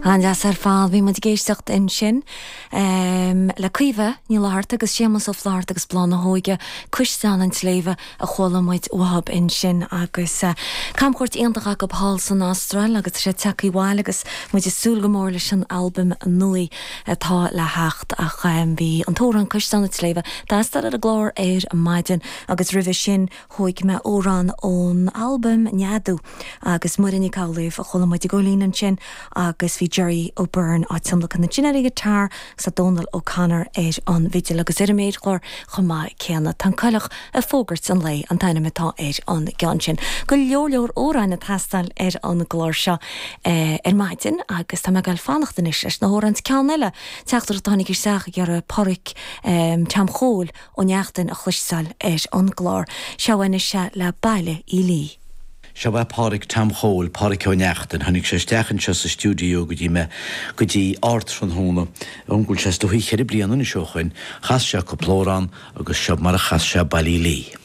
An-deas ar fad. Bhí muid ag éisteacht ansin le Caoimhe Ní Fhlatharta agus Séamus Ó Flatharta agus Bláth na hÓige, Cuisleán an tSléibhe a chuala muid uathub ansin agus camchuairt iontach acu thall san Astráil agus tá siad tagtha abhaile agus muid ag súil go mór leis an albam nua atá le theacht ach bhí an t-amhrán Cuisleán an tSléibhe ag teastáil ar an gclár ar maidin agus roimhe sin Thóig mé amhrán ón albam Neadú agus Muireann Nic Amhlaoibh a chuala muid ag veidhlín ansin agus bhí Gerry O'Beirne á tionlacan ansin ar an ghiotár agus tá Dónal O'Connor ar an bhfidil agus ar an méarchlár chomh maith céanna. Tá an Coileach ag fógairt an lae an t-ainm atá ar an gceann sin. Go leor leor amhráin ag teastáil ar an gclár seo ar maidin agus tá mé ag goil fanacht anois leis na hamhráin. Ceann eile, teachtaireacht a tháinig isteach ag iarraidh Páraic Tom Chóil Ó Neachtain a chloisteáil ar an gclár. Seo anois é le Baile Uí Lí. Seo é Páraic Tom Chóil, Páraic Ó Neachtain. Tháinig sé isteach anseo sa stiúideo go dtí mé go dtí ardtráthnóna. An bhfuil sé is dóichí cheithre bliana anois ó shoin. Chas sé cúpla amhrán agus seo mar a chas sé Baile Uí Lí.